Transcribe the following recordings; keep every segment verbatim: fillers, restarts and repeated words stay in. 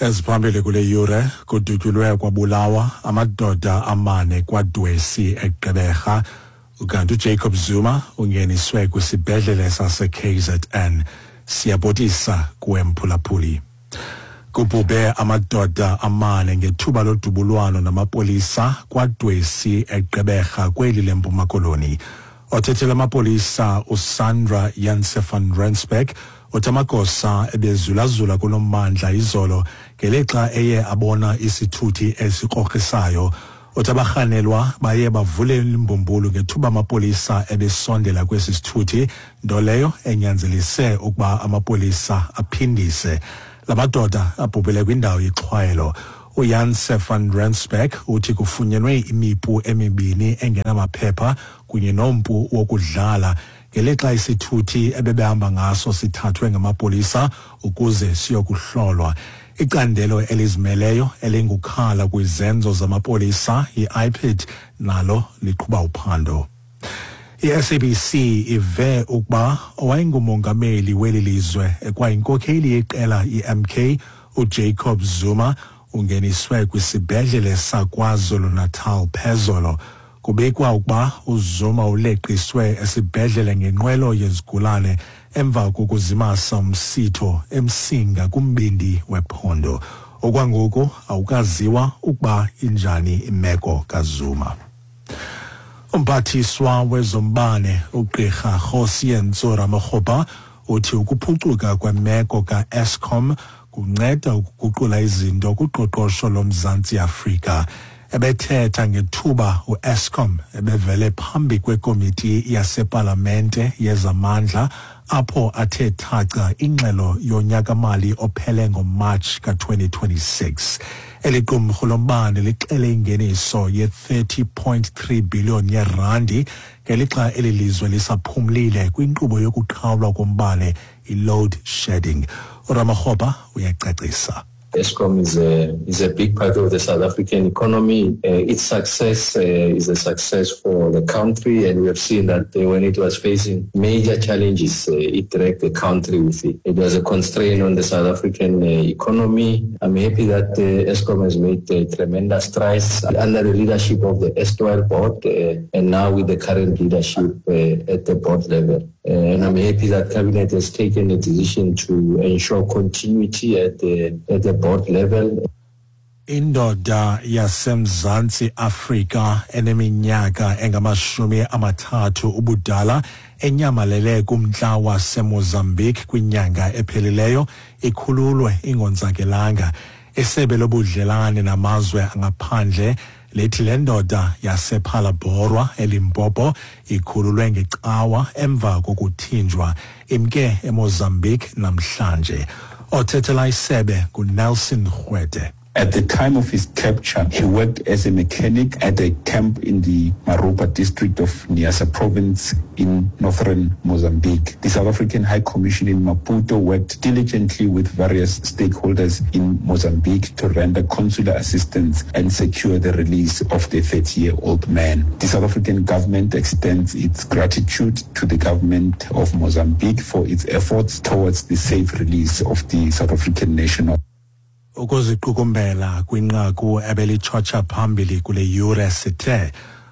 Eziphambili kule yure, kudutyulwe kwabulawa amadoda amane kwaDwesi eGqeberha, ukanti uJacob Zuma ungeniswe kwisibhedlele sase-K Z N. Siyabotisa kuwe mphulaphuli. Kubhubhe amadoda amane ngethuba lodubulwano namapolisa kwaDwesi eGqeberha kweli leMpuma Koloni. Othethela amapolisa uSandra Janse van Rensburg uthi amagosa ebezulazula kulo mmandla izolo ngelixa eye abona isithuthi esikrokrisayo. Uthi abarhanelwa baye bavule imbumbulu ngethuba amapolisa ebesondela kwesi sithuthi, nto leyo enyanzelise ukuba amapolisa aphindise. La madoda abhubhele kwindawo yexhwayelo. uJanse van Rensburg uthi kufunyenwe imipu emibini engenamaphepha kunye nompu wokudlala ngelixa isithuthi ebebehamba ngaso sithathwe ngamapolisa ukuze siyokuhlolwa. Icandelo elizimeleyo elingukhala kwizenzo zamapolisa i-I P D nalo liqhuba uphando. I-S A B C ive ukuba owayengumongameli weli lizwe ekwayinkokheli yeqela i-M K uJacob Zuma ungeniswe kwisibhedlele saKwaZulu-Natal phezolo. Kubikwa ukuba uZuma uleqiswe esibhedlele ngenqwelo yezigulane emva kokuzimasa umsitho eMsinga kumbindi wephondo. Okwangoku awukaziwa ukuba injani imeko kaZuma. Umphathiswa wezombane uGqirha Kgosientsho Ramokgopa uthi ukuphucuka kwemeko ka-Eskom kunceda ukuguqula izinto kuqoqosho loMzantsi Afrika. Ebethetha ngethuba u-Eskom ebevele phambi kwekomiti yasepalamente yezamandla apho athe thaca ingxelo yonyaka-mali ophele ngoMarch ka twenty twenty-six. Eli qumrhu lombane lixele ingeniso ye-thirty point three billion yerandi ngelixa eli lizwe lisaphumlile kwinkqubo yokuqhawulwa kombane i-load shedding. uRamokgopa uyacacisa. Eskom is a, is a big part of the South African economy. Uh, its success uh, is a success for the country, and we have seen that uh, when it was facing major challenges, uh, it dragged the country with it. It was a constraint on the South African uh, economy. I'm happy that uh, Eskom has made uh, tremendous strides under the leadership of the erstwhile board uh, and now with the current leadership uh, at the board level. And I'm happy that Cabinet has taken a decision to ensure continuity at the, at the board level. Indoda yaseMzantsi Afrika eneminyaka engamashumi amathathu ubudala enyamalele kumntla waseMozambique kwinyanga ephelileyo ikhululwe ingonzakelanga. Isebe lobudlelane namazwe angaphandle lithi le ndoda yasePhalaborwa eLimpopo ikhululwe ngecawa emva kokuthinjwa imke eMozambique namhlanje. Othethela isebe nguNelson Rwete. At the time of his capture, he worked as a mechanic at a camp in the Maropa district of Niassa province in northern Mozambique. The South African High Commission in Maputo worked diligently with various stakeholders in Mozambique to render consular assistance and secure the release of the thirty-year-old man. The South African government extends its gratitude to the government of Mozambique for its efforts towards the safe release of the South African national. Ukuziqukumbela kwinqaku ebelitshotsha phambili kule yure sithe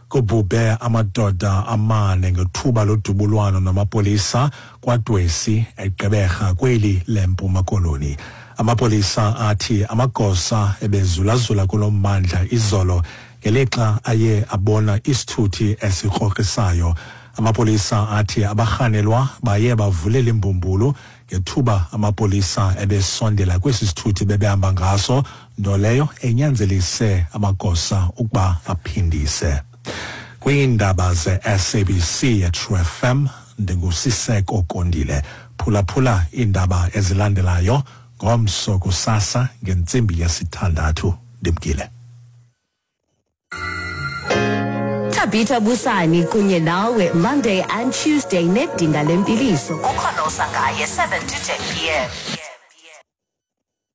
kubhubhe amadoda amane ngethuba lodubulwano namapolisa kwaDwesi eGqeberha kweli leMpuma Koloni. Amapolisa athi amagosa ebezulazula kulo mmandla izolo ngelixa aye abona isithuthi esikrokrisayo. Amapolisa athi abarhanelwa baye bavulela imbumbulu ngethuba amapolisa ebesondela kwesi sithuthi bebehamba ngaso, nto leyo enyanzelise amagosa ukuba aphindise. Kwiindaba ze-S A B C eTrue F M, ndinguSiseko Kondile. Phulaphula iindaba ezilandelayo ngomso kusasa ngentsimbi yesithandathu. Ndimkile. Tabitha Busani kunye nawe Monday and Tuesday nedinga lempiliso. Ukhona usangaye seven to ten P M.